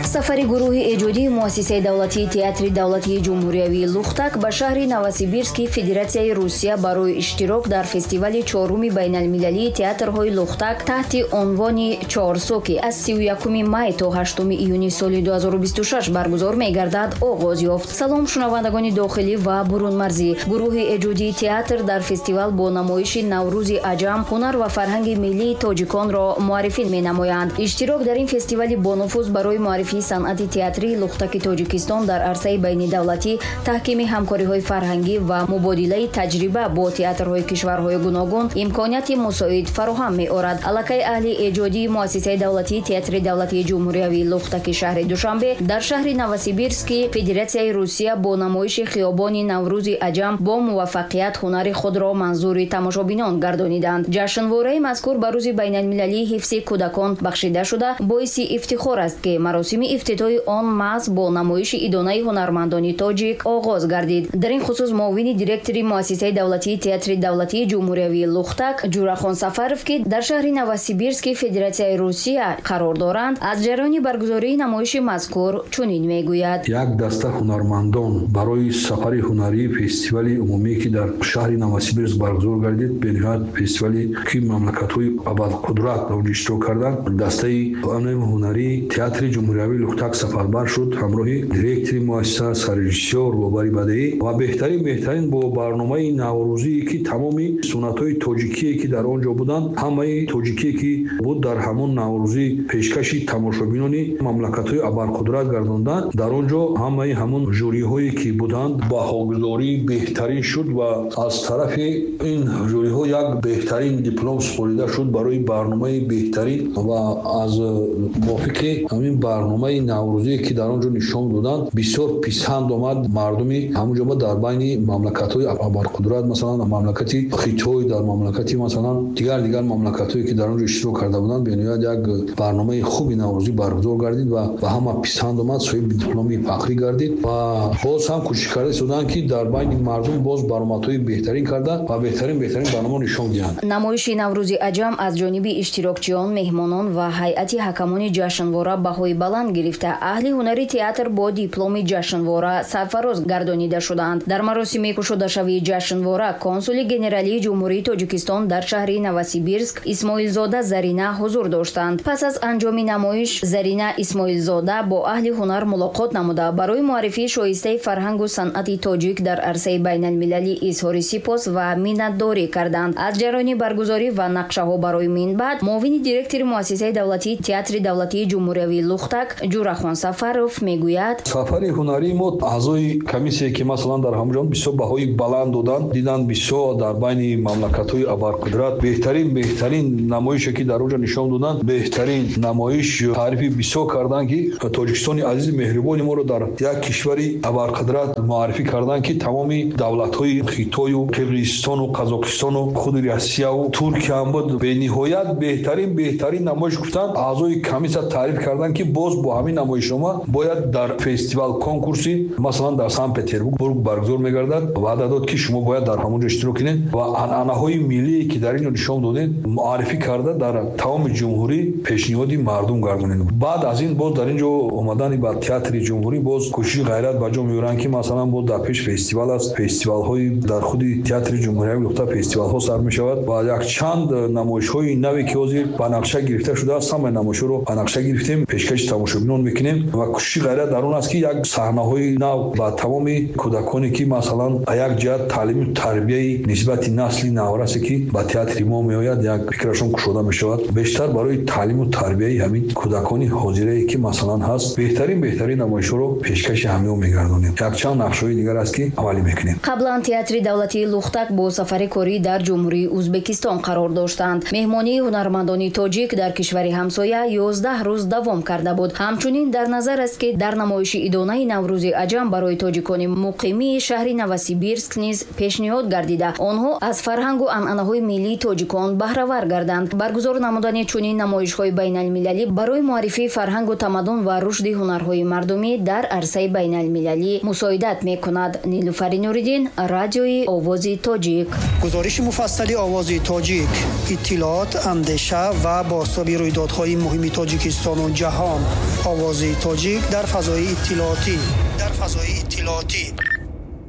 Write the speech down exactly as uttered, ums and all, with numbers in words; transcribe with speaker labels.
Speaker 1: Сафари гурӯҳи эҷодии Муассисаи давлатии Театри давлатии ҷумҳуриявии Лухтак ба шаҳри Новосибирски Федератсияи Русия барои иштирок дар фестивали чоруми байналмилалии театрҳои Лухтак таҳти унвони Чорсу, ки аз сию якуми май то ҳаштуми июни соли ду ҳазору бисту шаш баргузор мегардад, оғоз ёфт. Салом, шунавандагони дохилӣ ва бурунмарзӣ! Гурӯҳи эҷодии театр дар фестивал бо намоиши Наврӯзи аҷам ҳунар ва фарҳанги миллии тоҷиконро муаррифӣ менамоянд. Иштирок дар ин фестивали бонуфуз барои муаррифии санъати театрии Лухтаки Тоҷикистон дар арсаи байнидавлатӣ, таҳкими ҳамкориҳои фарҳангӣ ва мубодилаи таҷриба бо театрҳои кишварҳои гуногун имконияти мусоид фароҳам меорад. Аллакай аҳли эҷодии Муассисаи давлатии Театри давлатии ҷумҳуриявии Лухтаки шаҳри Душанбе дар шаҳри Новосибирски Федератсияи Русия бо намоиши Хиёбони Наврӯзи аҷам бо муваффақият ҳунари худро манзури тамошобинон гардониданд. Ҷашнвораи мазкур ба Рӯзи байналмилалии ҳифзи кӯдакон бахшида шуда, боиси ифтихор аст, ки маросими ифтитоҳи он маҳз бо намоиши идонаи ҳунармандони тоҷик оғоз гардид. Дар ин хусус муовини директори Муассисаи давлатии Театри давлатии ҷумҳуриявии Лухтак Ҷурахон Сафаров, ки дар шаҳри Новосибирски Федератсияи Русия қарор доранд, аз ҷараёни баргузории намоиши мазкур чунин мегӯяд.
Speaker 2: Як даста ҳунармандон барои сафари ҳунарии фестивали умумие, ки дар шаҳри Новосибирск баргузор гардид, бениҳоят фестивале, ки мамлакатҳои абарқудрат дар онҷо иштирок карданд, дастаи ҳунарии Театри ҷумҳуриявии Лухтак сафарбар шуд ҳамроҳи директори муассиса, саррежиссёр, роҳбари бадеӣ ва беҳтарин беҳтарин бо барномаи наврӯзие, ки тамоми суннатҳои тоҷикие, ки дар он ҷо буданд, ҳамаи тоҷикие, ки буд, дар ҳамон наврӯзӣ пешкаши тамошобинони мамлакатҳои абарқудрат гардонданд. Дар он ҷо ҳамаи ҳамон жюриҳое, ки буданд, баҳогузории беҳтарин шуд ва аз тарафи ин жюриҳо як беҳтарин диплом супорида шуд барои барномаи беҳтарин. Ва аз мувофиқи ҳамин барномаи наврӯзие, ки дар он ҷо нишон доданд, бисёр писанд омад мардуми ҳамон ҷо. Дар байни мамлакатҳои абарқудрат, масалан, мамлакати Хитой, дар мамлакати, масалан, дигар дигар мамлакатҳое, ки дар он ҷо иштирок карда буданд, бениҳоят як барномаи хуби наврӯзӣ баргузор гардид ва ба ҳама писанд омад, соҳиби дипломи фахрӣ гардид. Ва боз ҳам кӯшиш карда истоданд, ки дар байни мардум боз баромадҳои беҳтарин карда ва беҳтарин беҳтарин барнома нишон диҳанд.
Speaker 1: Намоиши Наврӯзи аҷам аз ҷониби иштирокчиён, меҳмонон ва ҳайати ҳакамони ҷашнвора баҳои баланд гирифта, аҳли ҳунари театр бо дипломи ҷашнвора сарфароз гардонида шуданд. Дар маросими кушодашавии ҷашнвора консули генералии Ҷумҳурии Тоҷикистон дар шаҳри Новосибирск Исмоилзода Зарина ҳузур доштанд. Пас аз анҷоми намоиш Зарина Исмоилзода бо аҳли ҳунар мулоқот намуда, барои муаррифии шоистаи фарҳангу санъати тоҷик дар арсаи байналмилалӣ изҳори сипос ва миннатдорӣ карданд. Аз ҷараёни баргузорӣ ва нақшаҳо барои минбаъд муовини директори Муассисаи давлатии Театри давлатии ҷумҳуриявии Лухтак Ҷурахон Сафаров мегӯяд:
Speaker 2: Сафари ҳунарии мо, аъзои комиссия, ки масалан дар ҳамон ҷо бисёр баҳои баланд доданд, диданд, бисёр дар байни мамлакатҳои абарқудрат беҳтарин беҳтарин намоише, ки дар онҷо нишон доданд, беҳтарин намоиш таърифи бисёр карданд, ки Тоҷикистони азизи меҳрубони моро дар як кишвари абарқудрат муаррифӣ карданд, ки тамоми давлатҳои Хитою Қирғизистону Қазоқистону худи Россияву Туркия ҳам буд. Бениҳоят беҳтарин беҳтарин намоиш гуфтанд, аъзои комиссия таъриф карданд, ки боз бо ҳамин намоишнома бояд дар фестивал конкурси, масалан, дар Санкт Петербург баргузор мегардад, ваъда дод, ки шумо бояд дар ҳамон ҷо иштирок кунед ва анъанаҳои миллие, ки дар ин ҷо нишон додед, муаррифӣ карда, дар тамоми ҷумҳурӣ пешниҳоди мардум гардонед. Баъд аз ин боз дар ин ҷо омадани ба Театри ҷумҳурӣ боз кӯшиши ғайрат ба ҷо меоранд, ки масалан боз дар пеш фестивал аст, фестивалҳои дар худи Театри ҷумҳуриявии Лухта фестивалҳо сар мешавад ва якчанд намоишҳои наве, ки ҳозир ба нақша гирифта шудааст, ҳамаи намоишҳоро ба нақша гирифтем, пешкаши тамошобинон мекунем. Ва кӯшиши ғайрат дар он аст, ки як саҳнаҳои нав ба тамоми кӯдаконе, ки масалан ба як ҷиҳат таълиму тарбияи нисбати насли наврасе, ки ба театри мо меояд, як фикрашон кушода мешавад, бештар барои таълиму тарбияи ҳамин кӯдакони ҳозирае, ки масалан ҳаст, беҳтарин беҳтарин намоишҳоро пешкаши ҳамиҳо мегардонем. Якчанд нақшҳои дигар аст, ки амалӣ мекунем.
Speaker 1: Қаблан Театри давлатии Лухтак бо сафари корӣ дар Ҷумҳурии Ӯзбекистон қарор доштанд. Меҳмонии ҳунармандони тоҷик дар кишвари ҳамсоя ёздаҳ рӯз давом карда буд. Ҳамчунин дар назар аст, ки дар намоиши идонаи Наврӯзи аҷам барои тоҷикони муқимии шаҳри Новосибирск низ пешниҳод гардида, онҳо аз фарҳангу анъанаҳои миллии тоҷикон баҳравар гарданд. Баргузор намудани чунин намоишҳои байналмилалӣ барои муаррифии фарҳангу тамаддун ва рушди ҳунарҳои мардумӣ дар арсаи байналмилалӣ мусоидат мекунад. Нилуфари Нуриддин, Радиои Овози Тоҷик.
Speaker 3: Гузориши муфассали Овози Тоҷик, иттилоот, андеша ва бозтоби рӯйдодҳои муҳими Тоҷикистону ҷаҳон. Овози тоҷик дар фазои иттилоотӣ, дар фазои иттилоотӣ.